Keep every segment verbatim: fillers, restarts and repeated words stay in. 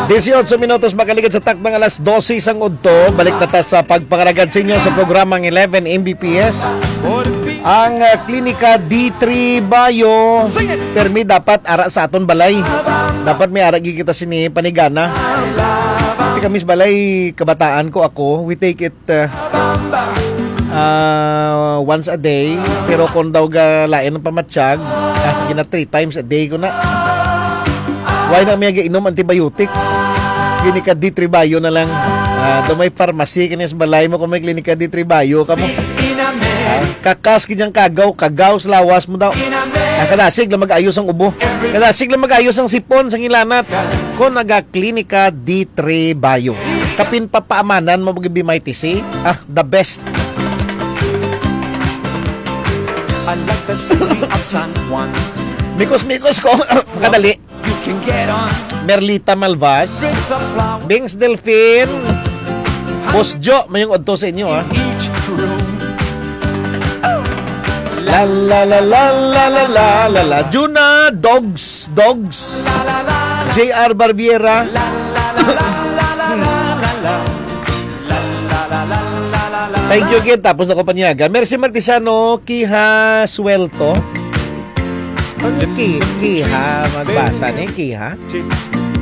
Dieciocho minutos makaligid sa takdang alas dose sang udto. Balik na ta sa pagpangalagad sa inyo sa programang eleven M B P S. Ang, ah, Klinika D three Bayo. Permi dapat ara sa aton balay. Dapat may ara gid kita sini panigana. Ti kami sa balay, kabataan ko ako, we take it, ah, ah, once a day. Pero kung daw ga lain ang pamatyag, ah, gina three times a day ko na. Why na may inom antibiotic? Klinika D three Bayo na lang. Ah, do may pharmacy kini sa balay mo kung may Klinika D three Bayo ka mo. Ah, kakas gid ang kagaw, kagaw sa lawas mo daw. Ah, kadasig lang mag-ayos ang ubo. Kadasig lang mag-ayos ang sipon sa ngilanat. Kung naga Klinika D three Bayo. Kapin papaamanan mo mag-B M I T C. Ah, the best. I like the city of San Juan. Mikos-mikos ko. Kadali. You can get on. Merlita Malvas. Bings Delfin. Boss Jo, may yung udto sa inyo, ha? Each room. La, la, la, la, la, la, la, la, la. Juna, Dogs, Dogs. J R Barbiera. Thank you again. Tapos na ko panyaga. Mercy Martisiano, Kiha Suelto. Ano ki, kiha, magbasa ni kiha?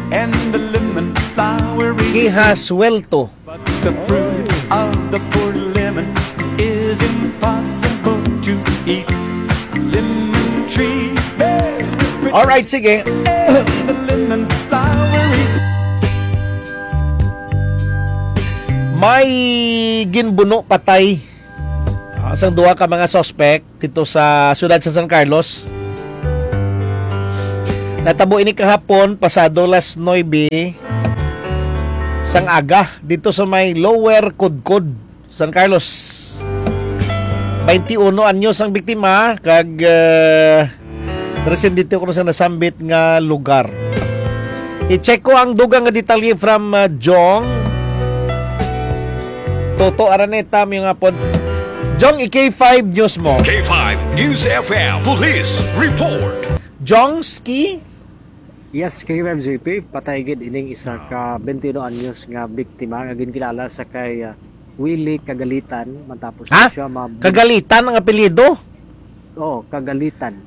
And the lemon flower is Kiha suelto. But the fruit of the poor lemon is impossible to eat. Lemon tree, hey, All right, sige. And the lemon flower is May ginbuno patay, ah, sang duha ka mga suspect dito sa siyudad sa San Carlos. Natabo ini kahapon, pasado las nuebe sang aga, dito sa may Lower Codcod, San Carlos. Twenty-one anyos ang biktima, kag, eh, residente ko sa nasambit nga lugar. I-check ko ang dugang nga detalye from, uh, Jong Toto Araneta, may nga pod. Jong, i-K five News mo. K five News F M Police Report. Jongski? Yes, K five J P, patay gid ining isa ka twenty-one anyos nga biktima nga ginkilala sa kay, uh, Willie Kagalitan, matapos Ha? siya ma- Kagalitan ang apelyido? Oo, Kagalitan.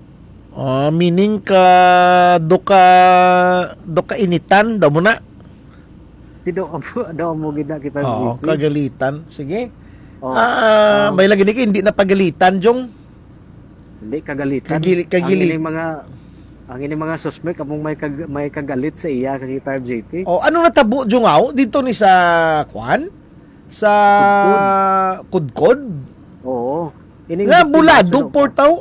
Ah, meaning ka, do ka, do ka initan, daw mo na? Di daw amo, daw amo gid na kita Oo, J P. Kagalitan. Sige. Oo. Ah, Ah. may lagi ni ka, hindi na pagalitan, Jong. Hindi, kagalitan. Kagili-, kagili- Ang ining mga, ang ining mga suspect, among may kag-, may kagalit sa iya, kay five J P. Oh, ano natabo, Jong, aw? Dito ni sa, kwan? Sa Kudkod. Kudkod? Oo. Ining Nga, biktima, Bulado, sino pa? Portaw?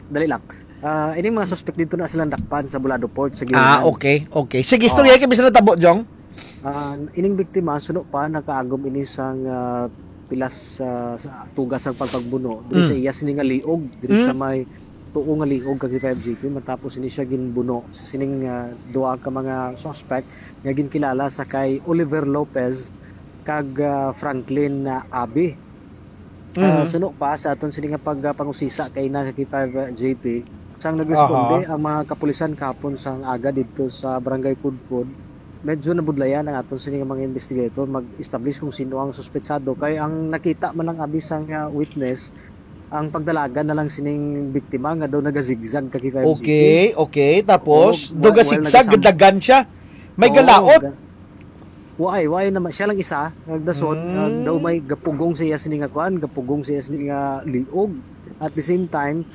Dali lang. Ah, ining mga suspect dito na silang dakpan sa Bulado Port, sa Ah, Gilinan. Okay, okay. Sige, istorya Oo. kay bisan natabo, Jong. Ah, ining biktima, suno pa, nakaagom ini sang, ah, pilas, ah, sa tugas sang pagpagbuno. Diri sa Mm. iya sini nga liog, diri sa Mm. may tuo nga liog kag five G P, matapos ini siya ginbuno sa sining, ah, duha ka mga suspect nga ginkilala sa kay Oliver Lopez kag, ah, Franklin, ah, Abi. Ah, Mhm. suno pa sa aton sini nga pag, ah, pangusisa kay na kay five, ah, J P, sang nagresponde Aha. ang mga kapulisan kahapon sang aga didto sa Barangay Kudkod, medyo nabudlayan ang aton sini nga mga investigator mag-establish kung sino ang suspetsado. Kay ang nakita man lang abi sang, ah, witness, ang pagdalagan na lang sining biktima nga daw nagazigzag ka kay five J P. Okay, okay. Tapos, Oo, duga while sigzag, nagasamb- gadagan siya. May Oo, galaot. ga-, Waay, waay naman. Siya lang isa, nagdasot, Mm. nag-, daw may gapugong sa iya sini nga kuan, gapugong sa iya sini nga liog. At the same time,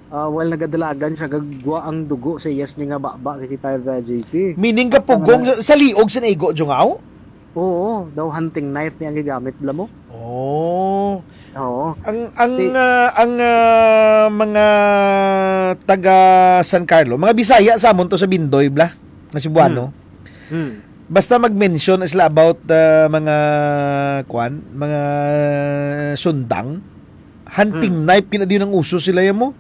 ah, while nagadalagan siya, gagwa ang dugo sa iya sini nga baba kay five J P. Meaning gapugong At, ah, sa, sa liog sa naigo, Jungaw? Oo, daw hunting knife niya ang gigamit, bala mo. Oh. Oo. Ang, ang, Ti- ah, ang, ah, mga taga San Carlo, mga Bisaya sa amon to sa Bindoy, bla, nga Cebuano. Hmm. Hmm. Basta mag-mention sila about, ah, mga, kwan, mga sundang, hunting Hmm. knife, kinadi ang uso sila yan mo.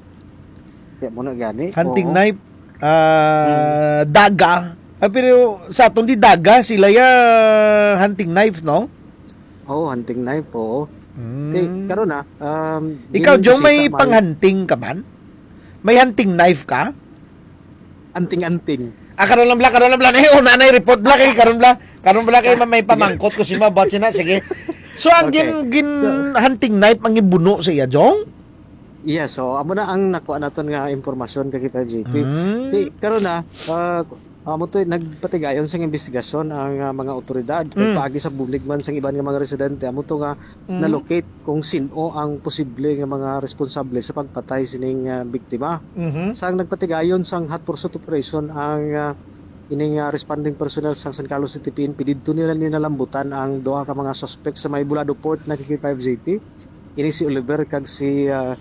Kaya mo na gani. Hunting Oo. knife, ah, Hmm. daga. Ah, pero sa atong di daga, sila ya hunting knife, no? Oo, hunting knife, oo. Hmm. Kay, karon na, um, Ikaw, dili Jong, may bisita, may panghunting ka man? May hunting knife ka? Anting-anting. Ah, karon lang bala, karon lang bala. Eh, una na report bala kay karon bala. Karon bala kay ma-, may pamangkot ko si ma, but sina, sige. So, ang Okay. gin-, gin-, So hunting knife ang gibuno sa iya, Jong? Yes, so amo na ang nakuha naton nga impormasyon kay K five G P. Mm. Di, karon na, ah, amo to, nagpatigayon sang investigasyon ang, ah, mga otoridad. Kay Mm. paagi sa bulig man sang iban nga mga residente, amo to nga Mm. na-locate kung sin-o ang posible nga mga responsable sa pagpatay sining, ah, biktima. Mhm. Sang nagpatigayon sang hot pursuit operation ang, ah, ining, ah, responding personnel sang San Carlos City P N P, didto nila ni nalambutan ang duha ka mga suspect sa may Bulado Port na K five G P. Ini si Oliver kag si, ah,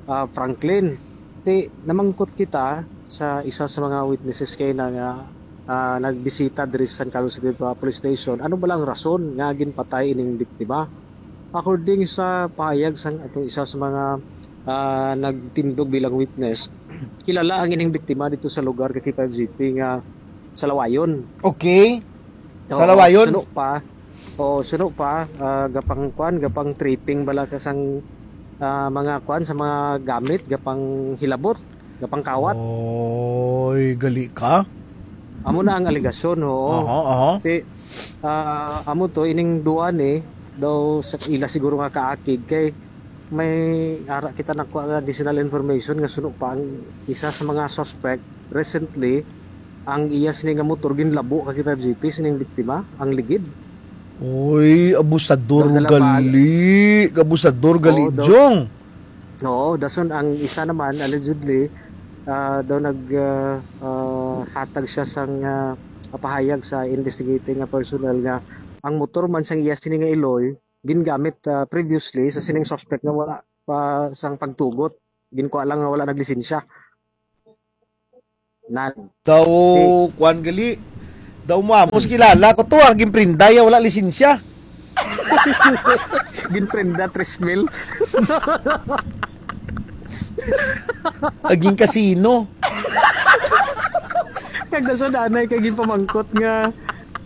ah, Franklin. Ti, namangkot kita sa isa sa mga witnesses kay na nga, ah, nagbisita diri sa San Carlos City Police Station. Ano ba lang rason nga ginpatay ining biktima? According sa pahayag sang ato isa sa mga, ah, nagtindog bilang witness, kilala ang ining biktima dito sa lugar kay K five G P nga sa Lawayon. Okay. Oo, Sa Lawayon? Suno pa. Oo, suno pa, ah, gapang kwan, gapang tripping bala ka sang, ah, mga kwan, sa mga gamit, gapang hilabot, gapang kawat. Oy, gali ka. Amo na ang alegasyon, oo. Aha, aha. Ti, ah, amo to, ining duwa ni, daw sa ila siguro nga kaakig, kay may ara kita nakuha nga additional information nga suno pa ang isa sa mga suspect recently, ang iya sini nga motor ginlabo kag K five G P sining biktima, ang ligid. Uy, abusador Daw dala pa gali. Abusador gali, Oo, daw. Jong. Oo, dason ang isa naman, allegedly, ah, daw nag, ah, ah, hatag siya sang, ah, pahayag sa investigating nga personnel nga ang motor man sang iya sini nga iloy, gingamit, ah, previously sa sining suspect nga wala pa sang pagtugot. Ginkuha lang nga wala naglisensya. Nan. Daw, Di- kuwan gali. Daw mo amos Hmm. kilala ko to, ah, ginprenda ya, wala lisensya. Ginprenda, tres mil. Aging kasino. Kag nasa nanay kay ginpamangkot nga,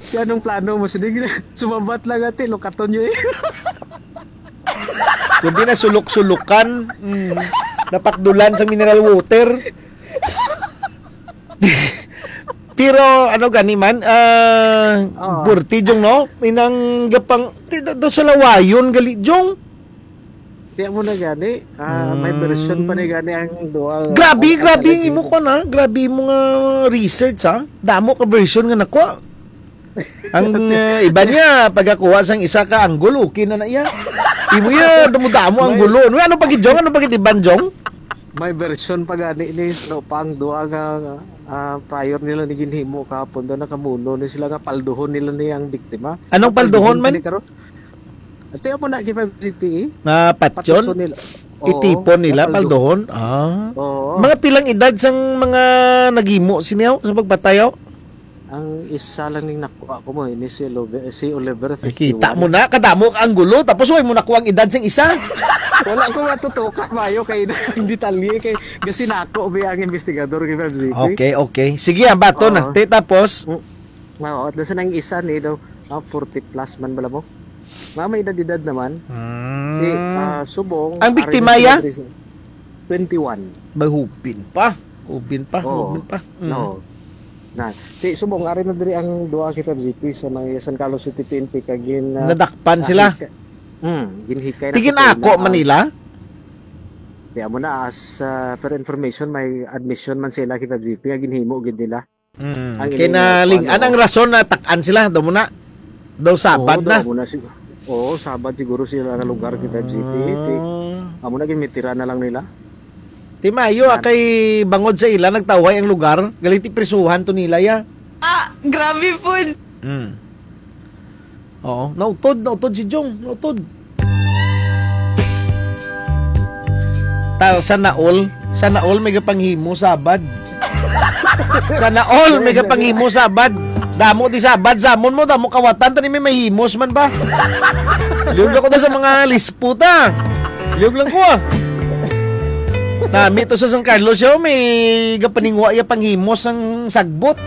"Kay anong plano mo?" Sige, sumabat lang ati, lukaton niyo eh. Kundi na sulok-sulukan, mm, napakdulan sa mineral water. Pero ano gani man, ah, Oo. Burti, Jong, no? Inang gapang, ti-, do, do sa Lawayon gali, Jong. Kaya mo na gani, ah, may Hmm. version pa ni gani ang duha. Grabe, Ang grabe ang imo ko na. Grabe mo nga research, ha? Damo ka version nga nakuha. Ang, eh, iba niya, pagkakuha sang isa ka anggol, okay na na iya. Imo ya, damo-damo ang May gulo. Ano, ano pa gid, Jong? Ano pa gid iban, Jong? May version pa gani ni, so, pa ang duha nga, ah, prior nila ni ginhimo kahapon, daw nakamuno ni sila nga palduhon nila ni ang biktima. Anong palduhon man? Palduhon pa ni karon. Ate, amo na, K five G P E. Na patyon? Patyon nila. Oo, Itipon nila, napaldo. Palduhon? Ah. Oo. Mga pilang edad sang mga naghimo sini, aw, sa pagpatay, aw? Ang isa lang ning nakuha ko mo, ini si Oliver, si Oliver, Nakita fifty-one. Mo na, kadamo ang gulo, tapos way mo nakuha ang edad sang isa. Wala ko matutuka, mayo kay ang detalye, kay gasinako ba ang investigador kay Febs J P? Okay, okay. Sige, ang bato na. Oo. Te, tapos? Mm. Mao, at doon sa nang isa ni daw, ah, forty plus man bala mo. Mga may edad-edad naman. Hmm. Di, ah, subong, Ang ari biktima, na sila ya? diri sa twenty-one. Bahubin pa. Hubin pa, Oo. hubin pa. Mm. No. Na, di, subong, ari na diri ang duha kay Febs J P sa may San Carlos City P N P kag gin, ah, Nadakpan sila? ah, hika-, hmm, ginhikay na Tigin sa ako kanila man ang nila? Di, amo na, as, ah, per information, may admission man sila kay Febs J P nga ginhimo gid nila. Mm. Ang Kay ining, ah, naling-an kuwan, ang oo. rason na tak-an sila, daw mo na. Daw Sabad Oo, na. daw mo na sig-, oo, Sabad siguro sila nga lugar kay Febs J P. Ti, Ah. amo na, ginmitira na lang nila. Ti mayo, ah, Yan. kay bangod sa ila, nagtawhay ang lugar. Galing ti prisuhan to nila, ya. Ah, grabe po. Mm. Oo, nautod, nautod si Jong, nautod. Tal, sana all, sana all may gapanghimo Sabad. Sana all may gapanghimo Sabad. Damo di Sabad, samon mo, damo kawatan, tani may mahimos man ba? Liog lang ko na sa mga lisputa. Liog lang ko, ah. Nami to sa San Carlos, yo, may gapaningwa ya panghimos ang sagbot.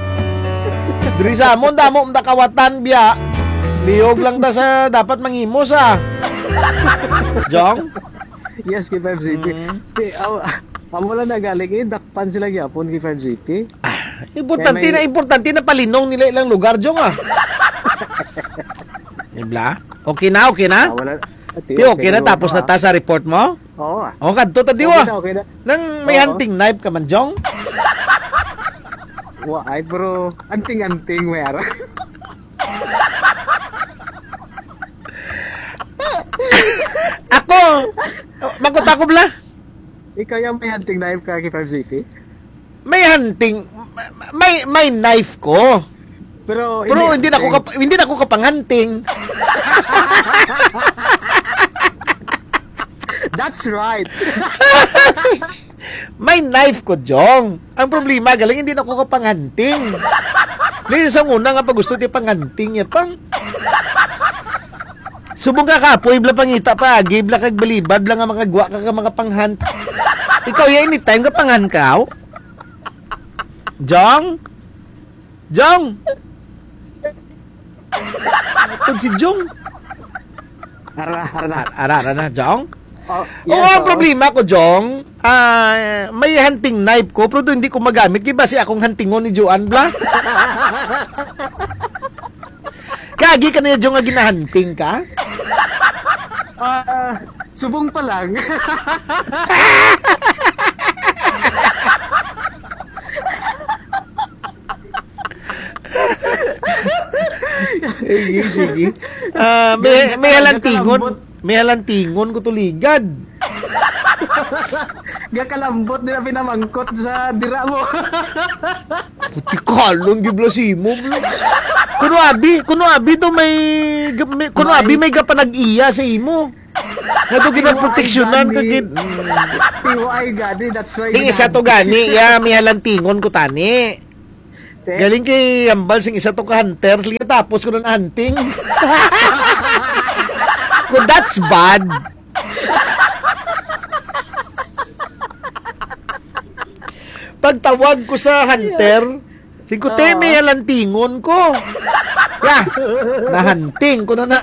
Diri sa amon, damo man ta kawatan, biya. Liog lang ta sa dapat manghimos, ah. Jong? Yes, kay Febs J P. Mm. Ti, aw-, amo lang na galing, eh, dakpan sila gyapon kay Febs J P. Ah, Importante Kaya may na, importante na palinong nila ilang lugar, Jong, ah. Di ba? Okay na, okay na? Ah, wala. Ati, Ti, okay okay na, na, tapos na ah. ta sa report mo? Oo, ah. O, kadto ta, di Okay wa? na, okay na. Nang may Oo. hunting knife ka man, Jong? Wa, ay, bro. Anting-anting, may ara. Ako, makot ako, bla. Ikaw yung may hunting knife ka, K five Z P? May hunting, may, may knife ko. Pero Pero hindi hindi na ko hunting. kap-, hindi na ko kapanghanting. That's right. May knife ko, Jong. Ang problema, galing hindi na ko kapanghanting. Lagi sa una nga pag gusto ti panghanting niya pang. Subong ka kapoy, bla pangita pa, agi, bla kag balibad, bla nga makagwa ka ka mga panghan. Ikaw, ya, anytime ka panghan ka, aw? Jong? Jong? Tug si Jong. Ara, ara na. Ar-, ara, ara na, Jong? Oh, Oo, yes, ang oo. problema ko, Jong, ah, may hunting knife ko, pero hindi ko magamit. Kaya basi akong huntingon ni Joan, bla? Kagi ka na, Jong, nga ginahunting ka? Ah, subong pa lang. Sige, sige. Ah, may, Ganyan may talaga, halantingon. kalambot. May halantingon ko tuligad. Gakalambot nila pinamangkot sa dira mo. Puti kalong gibla si imo, bro. Kuno abi, kuno abi to may ga-, may, kuno May abi may gapanag-iya sa imo. Nga to Tiway ginaproteksyonan ka gani. gid. Tiway gani, that's why Ting isa to ginahanap. gani, ya, may halantingon ko tani. Te? Galing kay Ambal sing isa to ka hunter, tapos ko na hunting. Kung that's bad. Pagtawag ko sa hunter, sing ko, "Te, Oo. may halantingon ko." Ya, nahanting ko na na.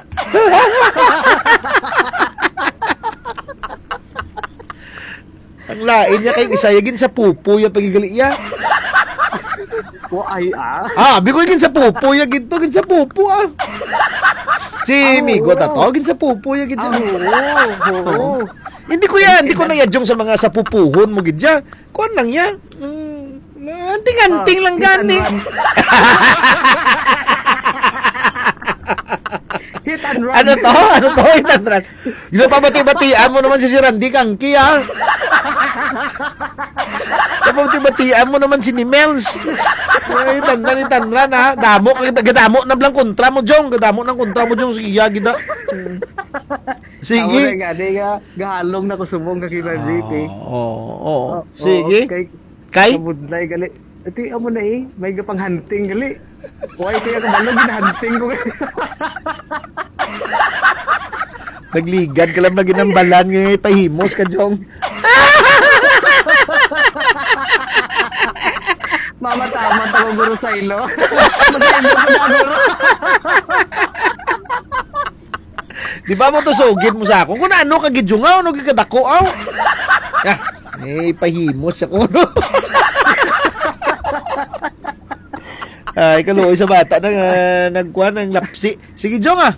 Ang lain niya kay isa, ya gin sa pupo ya pagigali ya. Wa ay, ah. Ah, biko gin sa pupo ya gid to, gin sa pupo, ah. Si Ah, Migo oo. ta to, gin sa pupo ya gid Ah, to. oo, oo. Hindi ko ya, hindi ko na yadjong sa mga sapupuhon mo gid ya. Kuan lang ya. Mm, anting-anting Ah, lang hit and gani. run. Hit and run. Ano to? Ano to? Hit and run. Ginapabati-batian mo naman si Sir Randy Kangki, ah. Ginapabati-batian mo naman si Nimels. Ay, tanran, tanran, ha. Damo, gadamo na blang kontra mo, Jong. Gadamo ng kontra mo, Jong. Sige, ya, gida. Sige. Amo na nga, di nga, gahalong na ko subong ka K five Z P. Oo, oo, oo. Oh, Sige. oo, kay Kay? Kabudlay gali. Ati, amo na eh. May gapang hunting gali. Why kaya kabalo, ginahunting ko gali. Nagligad ka lang na ginambalan nga ipahimos ka, Jong. Mama, tama to, Guro Sailo. Masaylo ko na, Guro. Di ba mo to sugid mo sa akon? Kung ano ka gid, Jong, aw, ano gid kadako, aw? Ah, eh, pahimos ako, no? Ay, kaluoy sa bata na nga nagkuha ng lapsi. Sige, Jong, ah.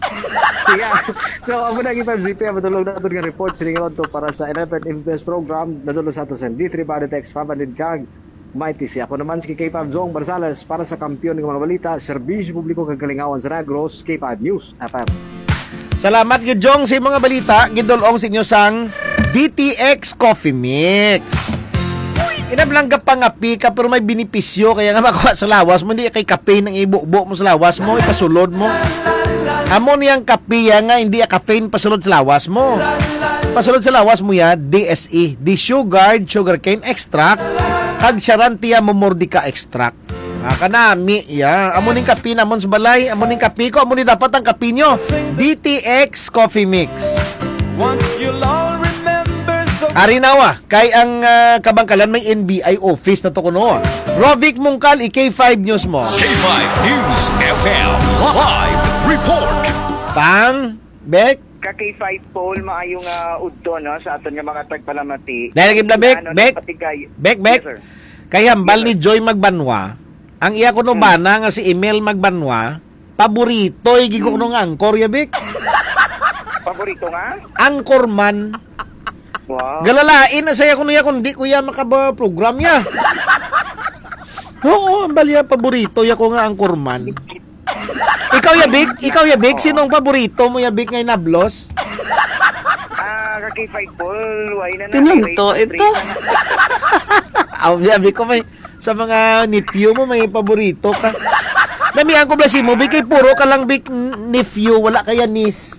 Yeah. So, amo na ang K five Z P, ang matulog natin nga report. Siningon to para sa eleven M P S program. Nadulong sa ato sa D three Body Text, Papa Didkag. Mighty siya. Ako naman si K five Jong Barzales para sa Kampiyon nga mga balita, serbisyo publiko kag kalingawan sa Negros, K five News F M. Salamat gid, Jong, sa mga balita gidulong sa inyo sang D T X Coffee Mix. Inablang ka pangapi ka pero may benepisyo kaya nga makuha sa lawas mo, hindi kay kape nang ibubo mo sa lawas mo, ipasulod mo. Amo niyang kape ya nga hindi ya caffeine pasulod sa lawas mo. Pasulod sa lawas mo ya, D S E, desugared sugarcane extract, kag Charantia momordica extract. Ah, kanami, ya. Amo ning kape namon sa balay. Amo ning kape ko. Amo ni dapat ang kape nyo. D T X Coffee Mix. Once you'll all remember so Ari na wa, kay ang, ah, kabangkalan may N B I office na to kuno. Rovic Mungkal, i K five News mo. K five News F M live report. Pang, Bek? Ka K five Paul, maayong, ah, udto, no, sa aton nga mga tagpalamati. Dahil lagi bla, Bek, Ano, Bek, nagpatigay. Bek, Bek. Yes, sir. Kay hambal Yes, ni sir. Joy Magbanwa, Ang iya kuno bana nga si Emil Magbanwa, paborito, eh, gid ko kuno nga angkor ya, Bik. Paborito nga? Anchorman. Wow. Galalain na saya kuno ya kung di ko ya makaba-program ya. Oo, ang balya paborito ya ko nga anchorman. Ikaw ya, Bik? Ikaw ya, Bik? Oo. Sino ang paborito mo ya, Bik, nga inablos? Ah, ka K five Paul, why na na? Tinunto ito. Aw, ya, Bik, ko may, sa mga nephew mo, may paborito ka. Namihan ko bala si mo, Bik, kay puro ka lang, Bik, n-, nephew, wala kaya niece.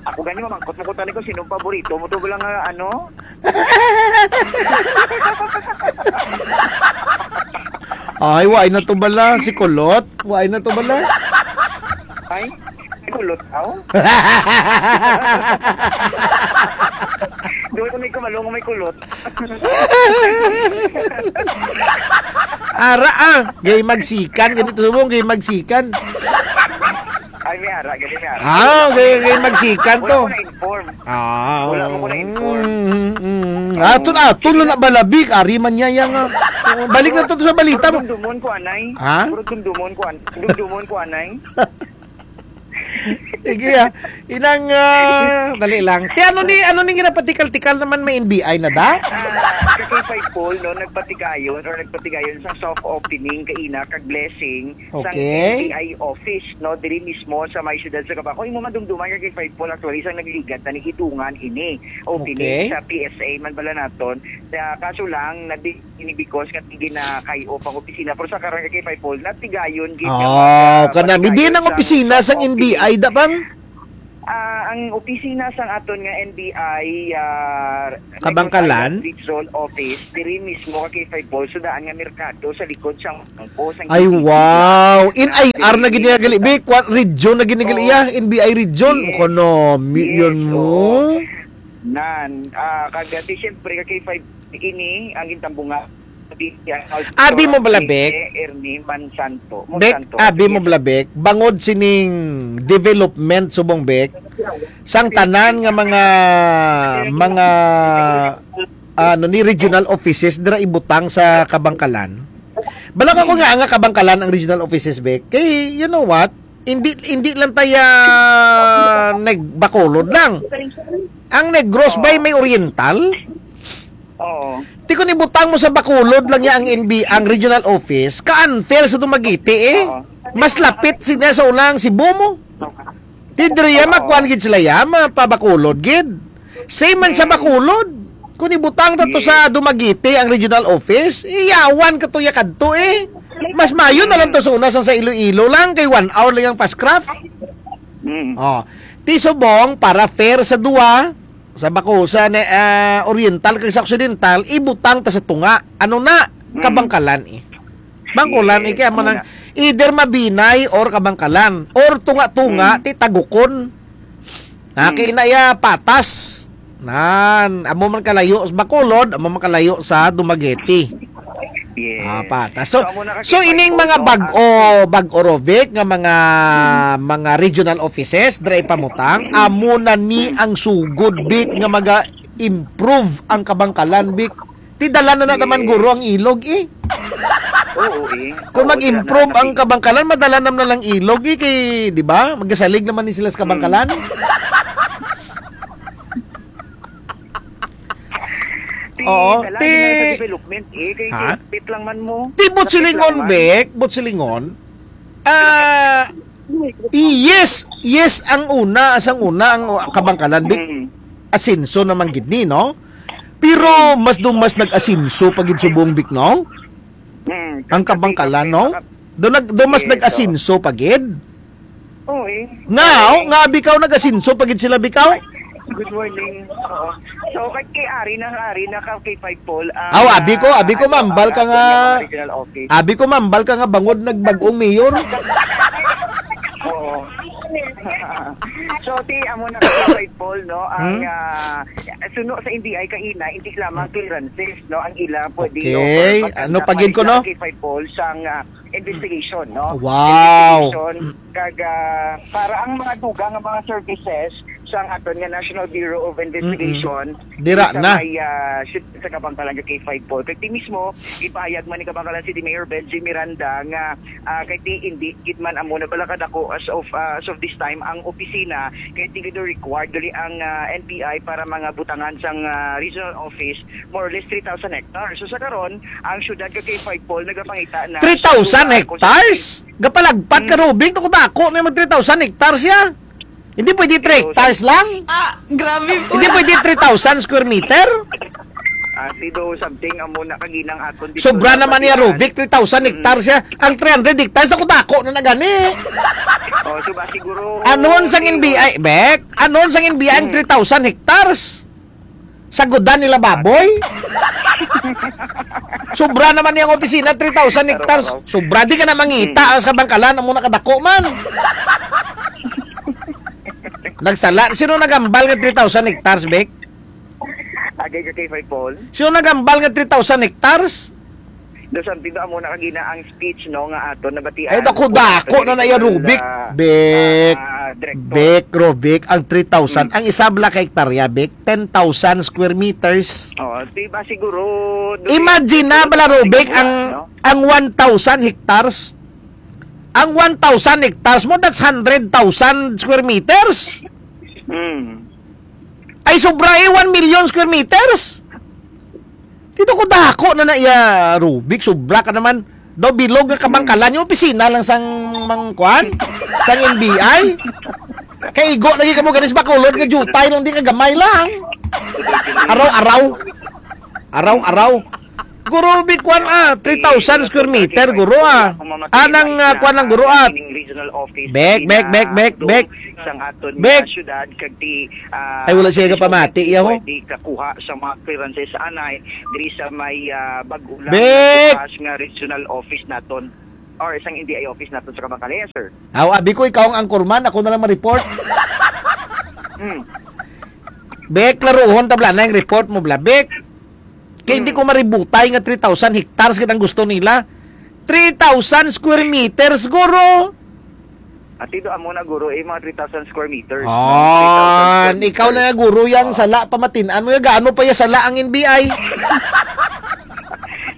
Ako gani, mamangkot mo ko tani ko, sino ang paborito mo to, wala nga, ano? Ay, waay na to bala, si Kulot. Waay na to bala. Ay, may kulot, aw? Doon ko may kumalong, may kulot. Ara, ah, gay magsikan, ganito subong, gay magsikan. Ay, may ara, gani may ara. Ah, gay, gay magsikan to. Wala ko na-inform. Ah, Wala mo ko na-inform. Mm, mm, mm. Aton, aton na bala, Bik, ari man niya yang, ah. Balik na to sa balita mo. Pero dumdumon ko, anay. Ha? Pero dumdumon ko, an-, dumdumon ko, anay. Sige, ah. Inang, ah, dali lang. Ti, ano ni, ano ni ginapatikal-tikal naman may N B I na da? Ah, sa K five Paul, no, nagpatigayon or nagpatigayon sa soft opening kaina kag blessing sa Okay. N B I office, no, diri mismo sa may siyudad sa Kabang. Kung imo madumduman ka kay Five Paul, actually, isang nagligad na ni Idungan ini, opening Okay. sa P S A man bala naton. Na, kaso lang, nadi-, ini because nga ginakay-off ang opisina. Pero sa karon kay Five Paul, natigayon gid nga Oh, mga kanami. Di nang pagkayo sa opisina sang soft N B I opening. Da bang? Ah, ang opisina sang aton nga N B I, ah, Kabangkalan? Negros Island Region Office, diri mismo ka kay Five Paul, sa daan nga merkado, sa likod sang bangko, sang Ay, G T C. Wow! In Ah, I R na gini gali, Bi. Kwa-, region na gini gali, Oo. Ya. N B I region. Yes. Kono, mi-, Yes, yun mo. Oo. Nan, ah, kag, ah, ti, siyempre, ka kay Five ini, ang gintambungan. Abi mo bala, Bek? Ernie Mansanto. Bek, Monsanto. Abi mo Yes. bala, Bek? Bangod sining development, subong, Bek, sang tanan nga mga, mga, ano ni, regional offices dira ibutang sa Kabangkalan. Bala ka ko nga, nga Kabangkalan ang regional offices, Bek. Kay, you know what? Hindi, hindi lang taya nagbakulod lang. Ang Negros bay may Oriental? Oo. Ti kung ibutang mo sa Bacolod lang ya ang N B, ang regional office, ka-unfair sa Dumaguete, eh. Oo. Mas lapit sila sa unang Cebu mo. Ti diri ya, Oo. Makuan gid sila ya, mapabakulod gid. Same man sa Hmm. Bacolod. Kung ibutang ta to Yes. sa Dumaguete ang regional office, iyawan ka to ya kadto, eh. Mas mayo na lang to sa una sa, sa Iloilo lang, kay one hour lang ang fast craft. Hmm. Oh. Ti subong, para fair sa duwa, sa Baco-, sa ne-, ah, Oriental kag sa Occidental, ibutang ta sa tunga. Ano na? Mm. Kabangkalan, eh. Bangkulan, Yes, eh, kaya mo amo nang na. Either Mabinay or Kabangkalan. Or tunga-tunga, Mm. ti Tagukon. Na, Mm. kay inaya patas. Nan, amo man kalayo sa Bacolod, amo man kalayo sa Dumaguete. Yes. Ah, patas. So, So, amo na ka so, kay ining Paul, mga no? bag-o, Ah. bag-o, Rovic, nga mga, Mm. mga regional offices, dira ipamutang, amo na ni Mm. ang sugod, Vic, nga maga-improve ang Kabangkalan, Vic. Ti dala na na taman Yes. guro ang ilog, eh. Oo, eh. Kung Oo, mag-improve dala na ang na. Kabangkalan, madala na na lang ilog, eh, kay, di ba? Magasalig naman ni sila sa Kabangkalan. Mm. Ti, Oo, dala ti na sa development, eh, kay Ha? Pit lang man mo. Ti, Pit lang Butsilingon, man. Bek, Butsilingon. Ah, yes, yes, ang una, sang una, ang Kabangkalan, Bek. Mm. Asenso naman gid ni, no? Pero mas do mas nag-asenso pa gid subong, Bek, no? Mm. Ang Kabangkalan, no? Do nag-, do mas Yes, nag-asenso pa gid. Oo, eh. Now, nga abi ka nag-asenso pa gid sila, Bikaw? Good morning. Oo. So, kay, kay ari na, ari na ka, kay Five Paul, ang, Aw, abi ko, ah, abi ko, ano, mambal ka ang nga, mga regional office. Abi ko, mambal ka nga bangod nagbag-ong mayor. Oo. So, ti, amo na ka, Five Paul, no? Ang, Hmm? ah, suno sa N B I kaina, hindi lamang clearances, no? Ang ila pwede Okay. offer, Ano pagkanta pa gid ko, no? Kay Five Paul, sang, ah, investigation, no? Wow. Investigation, kag, ah, para ang mga dugang nga mga services, sa aton nga National Bureau of Investigation. Dira sa na. May, ah, sit-, sa Kabankalan nga K five Paul. Kay ti mismo, ipahayag man ni Kabankalan City Mayor Benji Miranda nga, ah, kay ti hindi gid man amo na bala kadako as of, ah, as of this time ang opisina, kay ti gid required dali ang, ah, N B I para mga butangan sang, ah, regional office, more or less three thousand hectares. So sa karon, ang syudad nga K five Paul nagapangita na three thousand hectares? Gapalagpat ka, Rubik, dako-dako na mag three thousand hectares siya. Hindi pwede three hectares lang? Ah, grabe po. Hindi pwede three thousand square meter? Ah, sido something amo na kaginang aton dito. Sobra naman niya, Rubik, three thousand hectares siya. Ang three hundred hectares, dako-dako na na gani. Oh, so ba siguro anon sang N B I, Bek? Anon sang N B I ang three thousand hectares? Sa gudan nila baboy? Sobra naman niyang opisina, three thousand hectares. Sobra, di ka na mangita sa Kabankalan, amo na kadako man. Nagsala. Sino nagambal nga three thousand hectares, Bek? Agay ka kay Five Paul. Sino nagambal nga three thousand hectares? Do something do amo na kagina ang speech, no, nga ato nabatian. Ay, dako-dako na na iya, Rubik. Ah, Bek. Ah, Director. Bek, Rubik, ang three thousand. Mm. Ang isabla ka hektarya, Bek, ten thousand square meters. Oh, di ba siguro, do Imagine na bala, Rubik, ang, no? Ang one thousand hectares. Ang one thousand hectares mo, that's hundred thousand square meters. Mm. Ay, sobra eh, one million square meters. Dito ko dako na na iya, Rubik, sobra ka naman. Daw bilog nga Kabankalan, yung opisina lang sang mang kuan, sang N B I. Kay igo lagi ka mo ganis Bacolod nga jutay lang, di ka gamay lang. Araw-araw. Araw-araw. Guro, big kuan, ah, three thousand square meter, guro, ah. Anang, ah, kuan lang, guro, ah. Bek, bek, bek, bek, bek. Sang aton Bek. Nga syudad, kag ti, ah, Ay, wala siya kapamati, yaho. Pwede kakuha sa mga clearances anay diri sa may, ah, bag-o lang Bek. Bukas nga regional office naton or isang N D I office naton sa Kabankalan, sir. Aw, abi ko, ikaw ang anchorman, ako na lang ma-report. Hmm. Bek, klaruhon, tabla na yung report mo, bla. Bek, kay hindi Hmm. ko maributay nga three thousand hectares gid ang gusto nila. Three thousand square meters, guro. Ati do amo na, guro, eh, mga three thousand square meters, no? Oh, Three thousand square ikaw na meters. Nga, guro, yang Oh. Sala, pamatin-an mo, yung gaano pa yung sala ang N B I?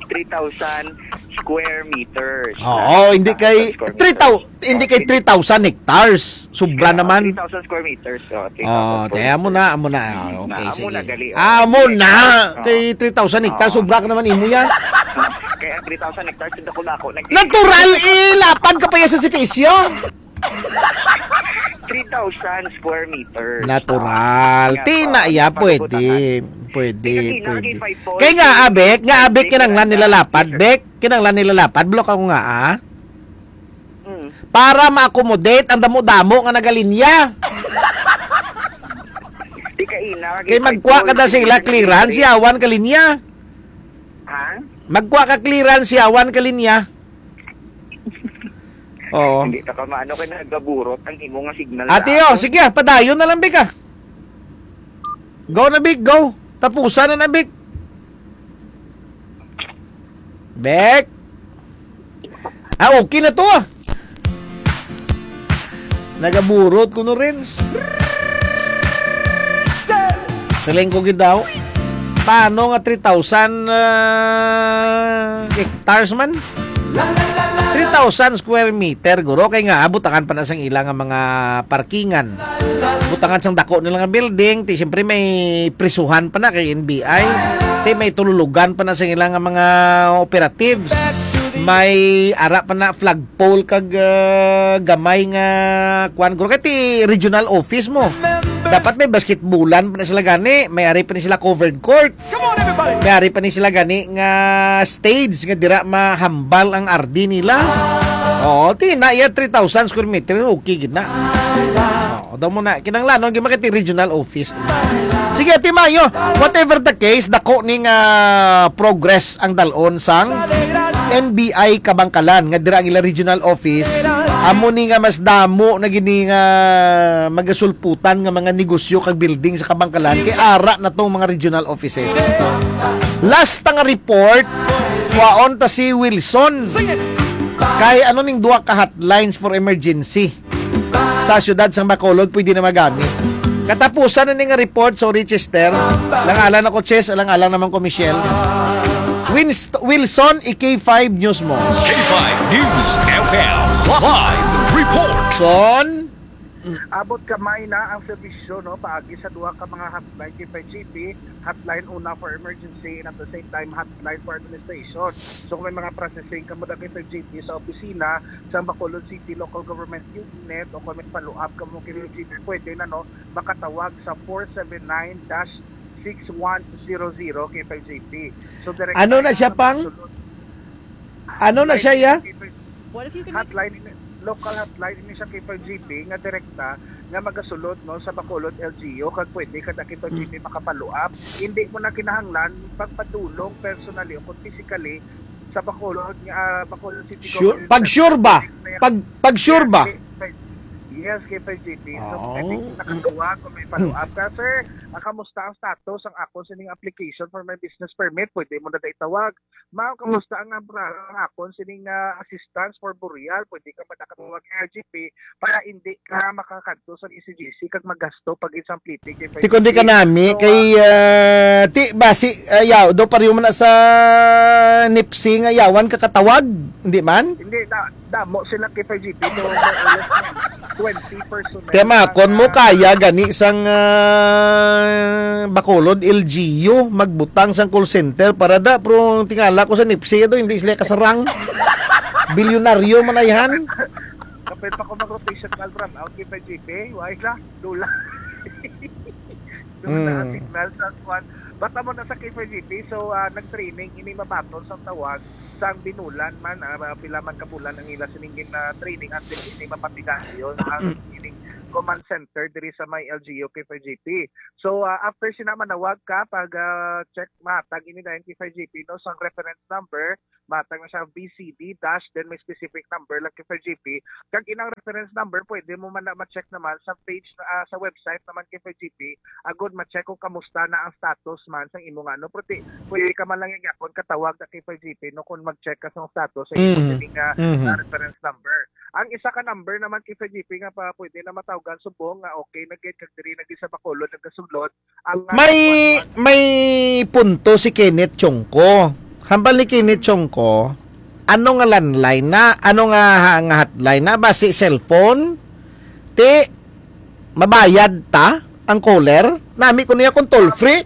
Three thousand square meters. Oo, hindi kay three thousand, hindi kay three thousand hectares. Sobra naman. Three thousand square meters. Oh, three thousand square meters. Oh, te, amo na, amo na. Ah, okay, sige. Amo na, gali. Ah, amo na. Oh. Kay three thousand hectares, sobra ka naman imo yan. Kaya ang three thousand hectares, dako-dako. Natural, eh, lapad ka pa yan sa sipisyo. Three thousand square meters. Natural. Ah, tina, yeah, pwede. Pwede, pwede. Kay nga, abek, nga, abek, kinanglan nila lapad, bek. Kinanglan nila lapad, block ako nga, ah. Mm. Para ma-accommodate ang damo-damo nga nagalinya. Di ka ina, kay magkuha ka na sila clearance, yawan ka linya. Ha? Magkuha ka clearance, yawan ka linya. Oo. Hindi ta ka maano kay nagaburot ang imo nga signal. Ate, oh, sige, ah, padayon na lang, Bik, ah. Go na, Bik, go. Tapusan na na, Bik. Bek. Ah, okay na to, ah. Nagaburot ko no, Renz. Siling ko gid daw. Paano nga three thousand, ah, hectares man? Three thousand square meter, guro. Kay nga, butangan pa na sang ila nga mga parkingan. Butangan sang dako nila nga building. Ti, siyempre, may prisuhan pa na kay N B I. Ti, may tululugan pa na sang ila nga mga operatives. May ara pa na flagpole kag, ah, gamay nga kuan, guro. Kay ti regional office mo. Dapat may basketballan pa na sila gani. May ari pa ni sila covered court. May ari pa ni sila gani nga stage nga dira mahambal ang R D nila. Oo, ti na iya three thousand square meter, okay gid na. Oo, daw mo na kinahanglanon gyud makita regional office. Sige, Ate Mayo, whatever the case, dako ni nga progress ang dalon sang N B I Kabangkalan nga dira ang ila regional office. Amo ni nga mas damo na gini nga magasulputan nga mga negosyo kag building sa Kabangkalan kay ara na tong mga regional offices. Last nga report, kwaon ta si Wilson. Kay ano ning duha ka hotlines for emergency sa siyudad sang Bacolod pwede na magamit? Katapusan na ni nga report, sorry, Chester. Alang-alang ako, Chess, alang-alang naman ko, Michelle. Winst-, Wilson, i-K five News mo. K five News F M live report. Son? Abot kamay na ang serbisyo, no, paagi sa duha ka mga hotline kay five G P, hotline una for emergency and at the same time hotline for administration. So kung may mga processing kamo daghan kay five G P sa opisina sa Bacolod City Local Government Unit o kung may follow-up kamo kay five G P, pwede na, no, makatawag sa four seven nine dash six one zero zero kay five G P. So direct Ano na siya, pang? Ano na siya, ya? What if you can make Hotline ini, local hotline ini sa K five G P nga direkta nga magasulod, no, sa Bacolod L G U, kag pwede kada K five G P maka-follow up. Hindi mo na kinahanglan pagpadulong personally o kung physically sa Bacolod nga, ah, Bacolod City Sure. Government Pag sure ba? Center. Pag, pag sure ba? Yes, K five G P. So, Oo. Pwede nakatawag kung may follow up ka, sir. Ah, kamusta ang status ang akon sining application for my business permit? Pwede mo na da itawag. Ma'am, kamusta ang, ang, ang akon sining, ah, assistance for burial? Pwede ka ba nakatawag ng R G P para hindi ka makakadto sa E C G C kag magasto pag isang pliti kay Ti kundi ka nami So, kay ah, ah, ti basi ayaw do pariyo man na sa nipsi nga yawan ka katawag, hindi man? Hindi na, damo sila kay five G P, so more or less twenty personnel Tema ang, kon mo ah, kaya gani sang ah, Bacolod L G U magbutang sang call center para da, pero tingala ko sa nipsi do hindi sila kasarang. Bilyonaryo man ayhan. Kapit pa ko mag-rotation call brownout kay five G P. Why la? Dula. Dula ang Mm. signal sa kwan. Basta mo na sa K five G P. So, ah, nag-training, ini mabaton sa tawag sang binulan man, ah, pila man ka bulan ang ila sining gin, ah, training until ini mapatigayon ang ining command center diri sa may L G U K five G P. So, ah, after sina manawag ka, pag, ah, check, matag ini dayon K five G P, no, sang reference number, matag na siya V C D dash, then may specific number lang K five G P. Kag inang reference number, pwede mo man na ma-check naman sa page, ah, sa website naman K five G P, agod ma-check kung kamusta na ang status man sang imo nga, no? Pwede, pwede ka man lang gyapon katawag na K five G P, no, kung mag-check ka sa status sa imo Mm. sining, ah, Mhm. ah, reference number. Ang isa ka number naman K five G P nga pa pwede na matawgan subong nga okay na gid kag diri na gid sa Bacolod nagasulod ang, ah, May, one one. may punto si Kenneth Chongco. Hambal ni Kenneth Chongco, ano nga landline na? Ano nga, ha-, nga hotline na? Basi cellphone? Ti, mabayad ta ang caller? Nami ko niya kung toll free.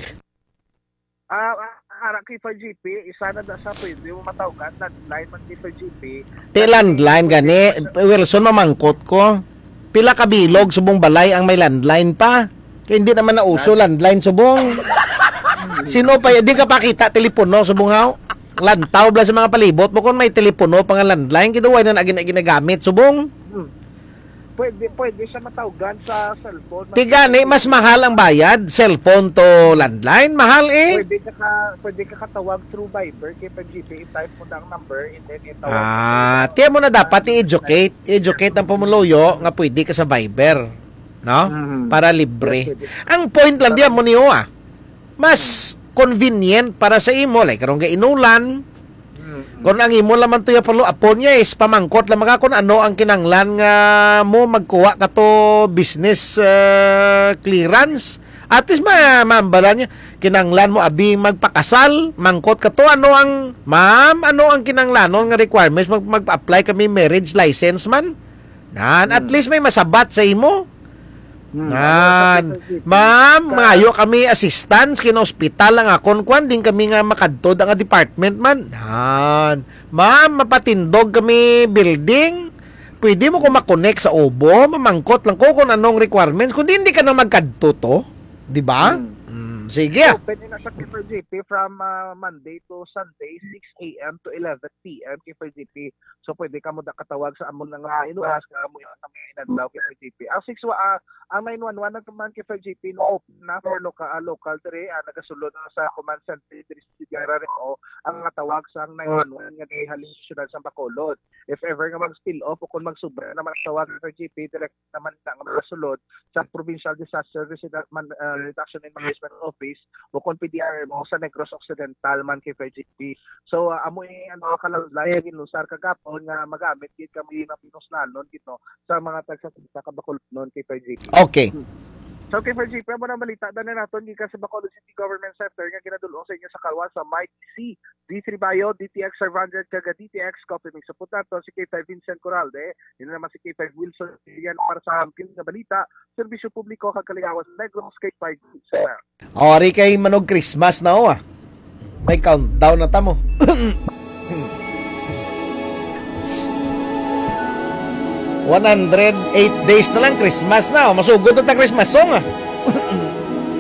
Ah, ah, ara kay five G P, isa na da sa pwede mo matawgan, landline man kay five G P. Ti landline gani, Wilson, mamangkot ko. Pila ka bilog subong balay ang may landline pa? Kay hindi naman na uso Land- landline subong. Sino pa y-, di ka pakita telepono subong haw? Lantaw bala sa mga palibot mo kung may telepono pa nga landline, kiduway na na gina-, ginagamit subong. Hmm. Pwede, pwede siya matawgan sa cellphone. Ti gani, mas mahal ang bayad, cellphone to landline, mahal eh. Pwede ka ka-, pwede ka katawag through Viber, kay pag G P, i-type mo na ang number, and then itawag mo Ah, na. Tiyan mo na dapat i-educate, educate ang pumuluyo nga pwede ka sa Viber, no? Mhm. Para libre. Yes, pwede. Ang point lang diyan mo niyo, ah, mas convenient para sa imo, like, karong gainulan, Mm, mm. Kung ang imo lamang to ya palo, apon niya is pamangkot lamang ka kung ano ang kinanglan nga mo magkuha ka to business, ah, clearance. At least ma-, maambala niya, kinanglan mo abi magpakasal, mangkot ka to, ano ang, ma'am, ano ang kinanglanon nga requirements? Mag-, mag-apply kami marriage license man? Nan, at Hmm. least may masabat sa imo. Hmm, Nan, ano, sa P S L G P, ma'am, sa mangayo kami assistance, kinaospital ang akon kwan, din kami nga makadto da nga department man. Nan, ma'am, mapatindog kami building. Pwede mo ko makonek sa obo, mamangkot lang ko kung anong requirements. Kung di, hindi ka na magkadto to. Di ba? Hmm. Mm, sige. So, pwede na sa K F G P from, ah, Monday to Sunday, six A M to eleven P M, K F G P. So, pwede ka mo da katawag sa amon nga inuras, nga amo yung kami inadlaw kay F G P. Ang six wa-, ah, ang nine one one naman kay F G P, no, open na for local, ah, local diri, ah, nagasulod na sa command center diri sa City Area, o ang mga tawag sa nine one one nga diri halin sa siyudad sa Bacolod. If ever nga mag-spill off o kung magsubra naman ang tawag ng F G P, direct naman na nga magasulod sa Provincial Disaster Resida-, Man-, ah, Reduction and Management Office o kung P D R M O sa Negros Occidental man kay F G P. So, ah, amo yung, ano, kalalay, ginlusar kagapon nga magamit gid kami na pinusnanon gid, no, sa mga tagsa-tagsa ka Bacolodnon kay F G P. Okay. Hmm. So, K five G P, amo na balita na naton gikan sa Bacolod City Government Center nga ginadul-ong sa inyo sa kalwa sa Mike C, D three Bayo, D T X five hundred, kag D T X Coffee Mix. Sa putlan to, si K five Vincent Coralde, yun naman si K five Wilson Ilian para sa Hamkin nga balita, serbisyo publiko kag kaligawan sa Negros, K five News. O, ari kay manog Christmas na, o, ah. May countdown na tamo. One hundred eight days na lang Christmas na, o. Masugod na ta Christmas song, ah.